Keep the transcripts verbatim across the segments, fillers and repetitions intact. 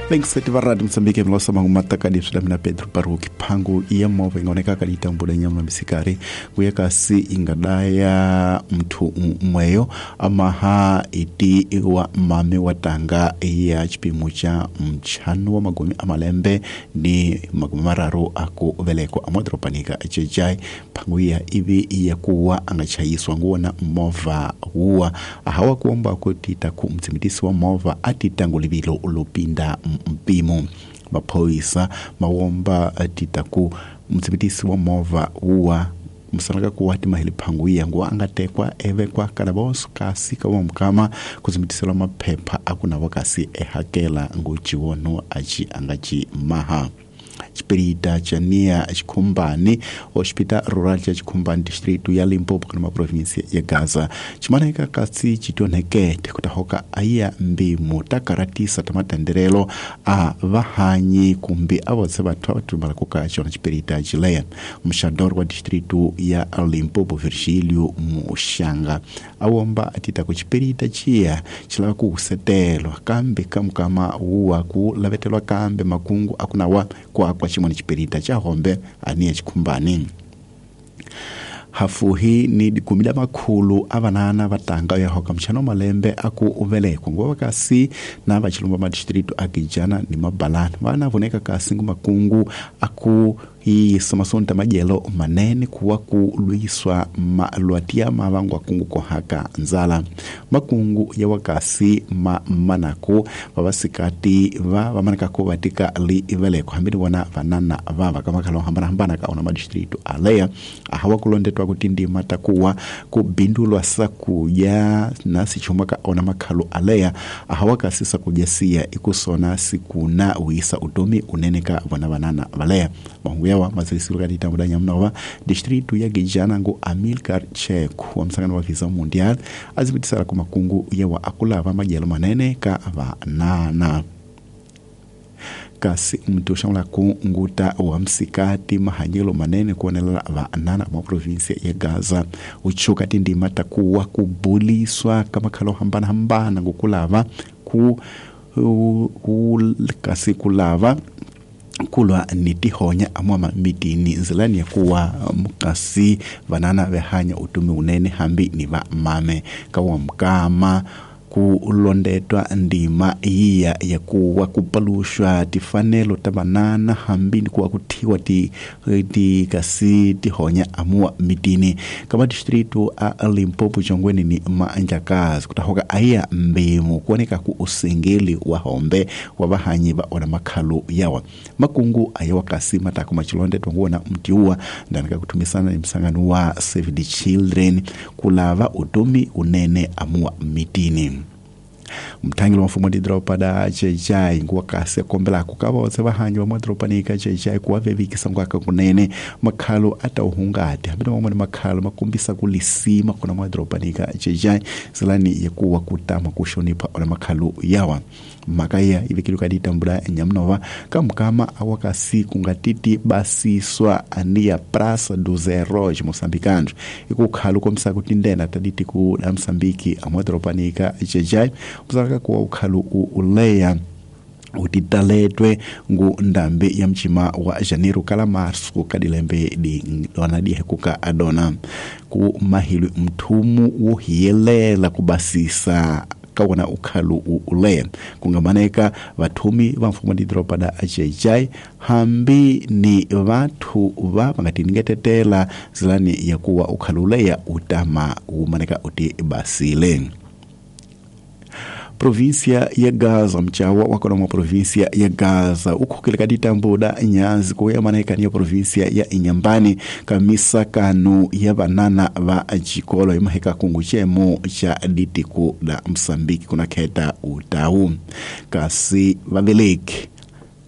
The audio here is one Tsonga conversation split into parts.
Vengiseti va Radio Mozambique mlosa mangumataka leswi mina Pedro Baruki phangu ya movha ingaoneka ka ditambula nyama misikari kuya kasi ingadaya mthu mweyo amaha iti wa mame wa tanga ya chipimo cha mchano wa magumi amalembe ni magumi mararu aku veleko amodropanika chechai phangu ya ivi ya kuwa angachayiswa nguona movha huwa ahawa kuomba kutita ku mtsimitisi wa movha atitangulivilo ulupinda mpimo maphoyisa mawomba titaku mtsibitisi wa movha uwa msanaka kuwa timahili phangu iya nguwa angatekwa evekwa kalaboso kasi kawa mukama kutsibitiselwa maphepha akunavo kasi ehakela nguchiwono achi angachi maha chipirita cha nia chikhumbani hospital rural cha chikhumbani district ya Limpopo kana province ya Gaza chimaneka kasi chitonhekete kutahoka aya mbimu takaratisa tamatenderelo a vahanyi kumbi avotse vathu avatumbala kuka chona chipirita chileya mshador wa district ya Limpopo Virgilio Mushanga awomba atita ku chipirita chiya chilava kusetelwa kambe kamukama uwa ku lavetelwa kambe makungu akunawa kwa kwa chimwe chipirita cha hombe aniye chikhumbani hafuhi ni dikumida makhulu avanana vatanga ya hoka mchano malembe aku uvelekwa ngoba kasi na vachilumba madistritu akijana ni mabalana vana voneka kasi ngumakungu aku isomasonta majelo manene kuwa kulwiswa malwatia mavangu akungu kohaka nzala makungu ya wakasi ma manaku vavasikati va vamanaka vatika li iveleko hambini vona vanana vava kamakalo hambana hambana kaona madistritu aleya ahawa kulondetwa kuti ndima takuwa kubindulwa sakuja na sichuma kaona makhalo aleya ahawa kasi sakuja siya ikusona sikuna wisa utomi uneneka vona vanana valeya mahungu yawa mazirisiro kati tambudanya mnova distritu ya Gijana ngo Amilcar Cheku wa msangano wa Visa Mundial azibitisala ku makungu yawa akulava majelo manene ka vanana kasi mtu shamla kunguta wa msikati mahanyelo manene kuonelela vanana mwa provinsia ya Gaza uchuka tindima takuwa kubuliswa kama khalo hambana hambana ngokulava ku, ku kasi kulava kulwa ni tihonya amwama mitini nzilani ya kuwa mukasi vanana vehanya utumi unene hambi ni va mame kawa mkama kulondetwa ndima iya ya kuwa kupalushwa tifanelo ta vanana hambi ni kuwa kuthiwa ti, ti kasi tihonya amua mitini kama distritu a Limpopo chongweni ni manjakazi kutahoka aya mbimu kuoneka ku usengeli wa hombe wa vahanyi va ona makhalo yawa makungu aya wakasi matako machilondetwa nguona mtiuwa ndanika kutumisana ni msangano wa Save the Children kulava utomi unene amua mitini mthangeli wa mfumo didropa da chechai nguwa kasi kombela kukava otse vahanyi va madropanika chechai kuwa vevikisa ngwaka kunene makhalo ata uhungati hambi mamwe makhalo makombisa kulisima kuna madropanika chechai zilani yakuwa kutama kushonipha ona makhalo yawa makaya ivikili kaditambula nyamnova kamukama awakasi kungatiti basiswa ania Praça dos Heróis moçambicanos ikukhalo komisa kuti ndena taditi ku da Moçambique amadropanika chechai muzalaka kuwa ukhalo uleya utitaletwe ngu ndambi ya mchima wa janeiro kala marso kadilembe di dona dihekuka adona ku mahilwi mthumu wohiyelela kubasisa kawona ukhalo uleya kungamaneka vathumi va mfumo didropa da achechai hambi ni vathu va vangatiniketetela zilani ya kuwa ukhalo uleya utama umaneka uti basile província ya Gaza mchawa wakona mwa província ya Gaza ukhukile kaditambuda nyanzi kuya maneka niyo província ya Inyambani kamisa kanu ya banana va chikolo imaheka kungu chemo cha ditiku da Msambiki kuna kheta utau kasi vaveleki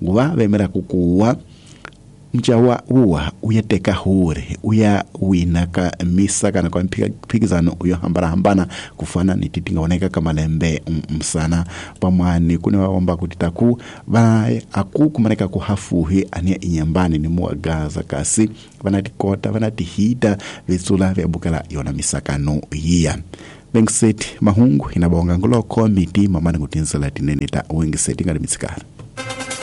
nguva vemera kukuwa mchawa uwa uyateka hure uya wina ka misa kana kwa mphikizano uyo hambana hambana kufana ni titingaoneka kamalembe msana pamwani kune waomba kuti taku va aku kumaneka kuhafuhi ania inyambani ni muwa Gaza kasi vanatikota vanatihita vitsula vyabukela yona misakano yiya Bengiseti mahungu inabonga ngoloko miti mamani kutinzela tinene ta wengiseti ngalimitsikara.